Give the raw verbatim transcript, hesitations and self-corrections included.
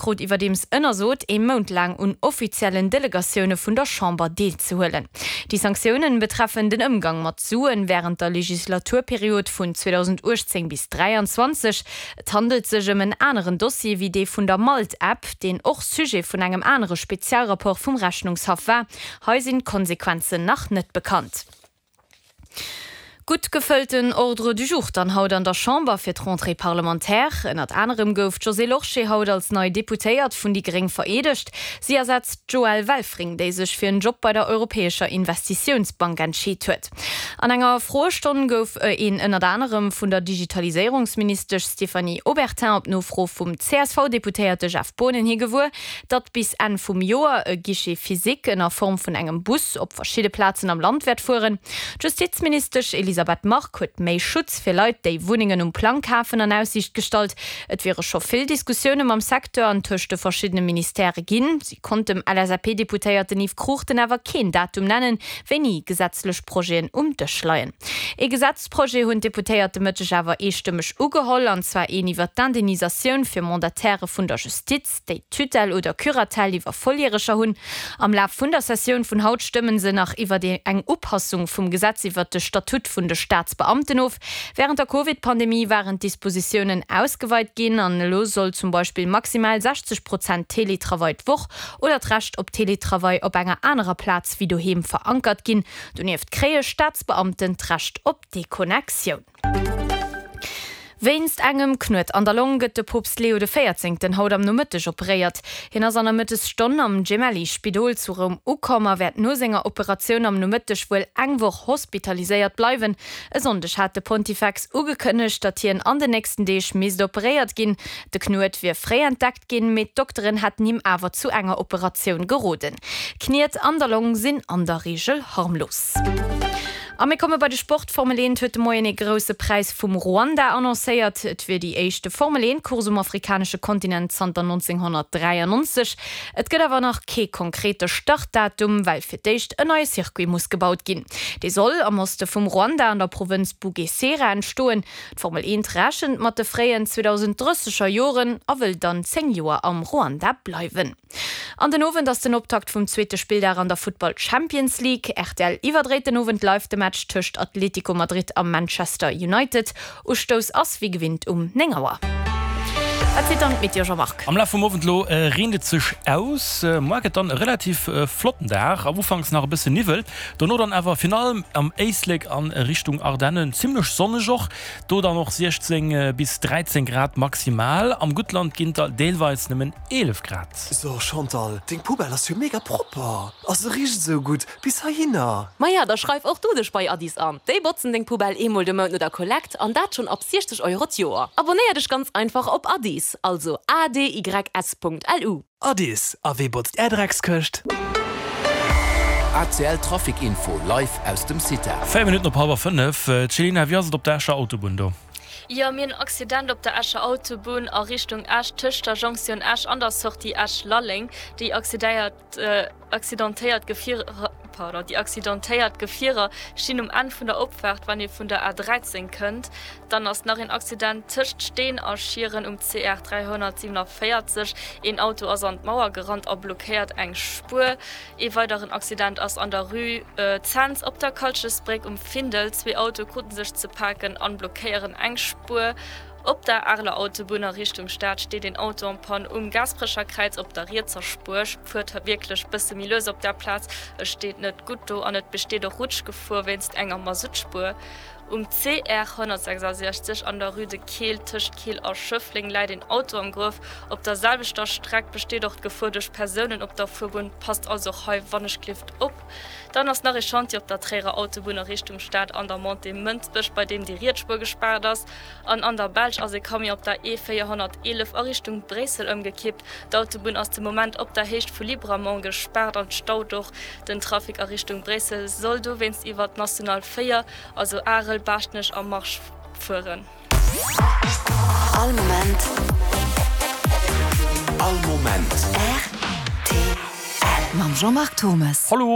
Krut iwwerdeems ënnersot, ee Mount laang un offiziellen Delegatioune vun der Chamber deelzehuelen. Déi Sanktiounen betreffen den Ëmgang mat Suen wärend der Legislaturperiod vun zweedausendachtzéng bis dräianzwanzeg. Et handelt sech ëm en aneren Dossier wéi dee vun der Malt-App, deen och Sujet vun engem anere Spezialrapport vum Rechnungshaff war. Hei sinn d'Konsequenzen nach net bekannt. Gutt gefëllten Ordre du jour dann haut an der Chamber fir d'Rentrée parlementaire. Ënnert anerem gouf d'Josée Lorsché haut als nei Deputéiert vun déi Gréng vereedegt. Si ersetzt d'Joëlle Welfring, déi sech fir en Job bei der Europäescher Investitiounsbank entscheet huet. An enger Froestonn gouf een ënnert anerem vun der Digitaliséierungsministesch Stéphanie Obertin op Nofro vum C S V-Deputéierte Jeff Boonen hi gewuer, datt bis Enn vum Joer e Guichet physique ënner Form vun engem Bus op verschidde Plazen am Land wäert fueren. D'Justizministesch Elisabeth Margue huet méi Schutz fir Leit, déi Wunnengen um Plang kafen, an Aussiicht gestallt. Et wiere scho vill Diskussioune mam Secteur an tëscht de verschiddene Ministèrë ginn. Si konnt dem L S A P-Deputéierten Yves Cruchten awer keen Datum nennen, wéini gesetzlech Projeten um Dësch leien. Ee Gesetzprojet hunn d'Deputéiert de Mëtteg awer eestëmmeg ugeholl, an zwar een iwwer d'Indemnisatioun fir Mandatairë vun der Justiz, déi Tutelle oder Curatelle iwwer Volljäreger hunn. Am Laf vun der Sessioun vun haut stëmmen se nach iwwer eng Upassung vum Gesetz iwwer de Statut vun de Staatsbeamten of. Wärend der Covid-Pandemie waren d'Dispositiounen ausgeweit ginn an elo soll zum Beispill maximal sechzeg Prozent Teletravail d'Woch oder d'Recht op Teletravail op enger anerer Plaz wéi doheem verankert ginn. Donieft kréie Staatsbeamten d'Recht op Deconnectioun. Wéinst engem Knuet an der Long gëtt de Poopst Leo de Véierzéngten haut am Nomëtteg operéiert. Hien ass an der Mëttesstonn am Gemelli-Spidol zu Roum ukomm a wäert no senger Operatioun am Nomëtteg wuel eng Woch hospitaliséiert bleiwen. E Sonndeg hat de Pontifex ugekënnegt, datt hien an den nächsten Deeg misst operéiert ginn. De Knuet wier fréi entdeckt ginn, mee d'Dokteren hätten him awer zu enger Operatioun geroden. Kniet an der Long sinn an der Reegel harmlos. A mir komme bei de Sport. D'Formel eent huet de Moien ee grousse Präis vum Ruanda annoncéiert. Et wier déi éischte Formel eent Course um afrikanesche Kontinent zanter nonzénghonnertdräiannonzeg. Et gëtt awer nach kee konkrete Startdatum, well fir d'éischt en neie Circuit muss gebaut ginn. Dee soll am Oste vum Ruanda an der Provënz Bugesera entstoen. D'Formel eent rechent mat de fréien zweedausenddrësseger Joren a wëll dann zéng Joer am Ruanda bleiwen. An den Owend ass den Optakt vum zweete Spilldag an der Futtball Champions League. R T L iwwerdréit den Owend live de Match tëscht Atlético Madrid a Manchester United. Ustouss ass wéi gewinnt um néng Auer. Wat seet dann d'Meteo, Jean-Marc? Am Laf vum Owend lo reent et sech aus. Muer gëtt dann e relativ flotten Dag, am Ufanks nach e bësse Niwwel, dono dann awer virun allem am Éislek an Richtung Ardennen zimmlech sonneg och. Do dann och siechzéng bis dräizéng Grad maximal, am Guttland ginn et der deelweis nëmmen eelef Grad. So Chantal, deng Poubelle ass jo mega propper a se richt esou gutt bis heihinner. Maja, da schreif och du dech bei Adys an. Déi botzen deng Poubelle eemol de Mount no der Kollekt an dat schonn ab siechzeg Euro d'Joer. Abonéier dech ganz einfach op Adys, also A D Y S Punkt L U. Adys, a wee botzt är Dreckskëscht? A C L Trafic Info live aus dem CITA. Véier Minutten op hallwer fënnef. Céline, wéi ass et op der Escher Autobunn do? Jo, mir hunn en Accident op der Escher Autobunn a Richtung Esch, tëscht der Jonktioun Esch an der Sortie Esch-Lalleng. Déi accidéiert accidentéiert Gefierer, pardon, déi accidentéiert Gefierer stinn um Enn vun der Opfaart, wann ee vun der A dräizéng kënnt. Dann ass nach een Accident tëscht Steen a Schieren um C R dräihonnertsiewenavéierzeg. Een Auto ass an d'Mauer gerannt a blockéiert eng Spuer. Ee weideren Accident ass an der Rue Cents op der Kalchesbréck um Findel. Zwee Autoe krute sech ze paken an blockéieren eng Spuer. Op der Areler Autobunn a Richtung Stad steet een Auto en panne um Gaasperecher Kräiz op der rietser Spuer. Fuert wierklech bësse méi lues op där Plaz, et steet net gutt do an et besteet och Rutschgefor wéinst enger Masuttspuer. Um C R honnertsechsasechzeg an der Rue de Keel tëscht Keel a Schëffleng läit een Auto am Gruef. Op der selwechter Streck besteet och d'Gefor duerch Persounen op der Fuerbunn. Passt also och hei wannechgelift op. Dann ass nach ee Chantier op der Tréierer Autobunn a Richtung Stad an der Montée Mënsbech, bei deem déi riets Spuer gespaart ass. An an der Belsch ass ee Camion op der E véierhonnerteelef a Richtung Bréissel ëmgekippt. D'Autobunn ass de Moment op der Héicht vu Libramont gespaart an staut och. Den Trafic a Richtung Bréissel soll dowéinst iwwer d'National véier, also Arel, Baaschtnech a Marche fueren. All Moment. All Moment. R T L. Mam Jean-Marc Thommes. Hallo.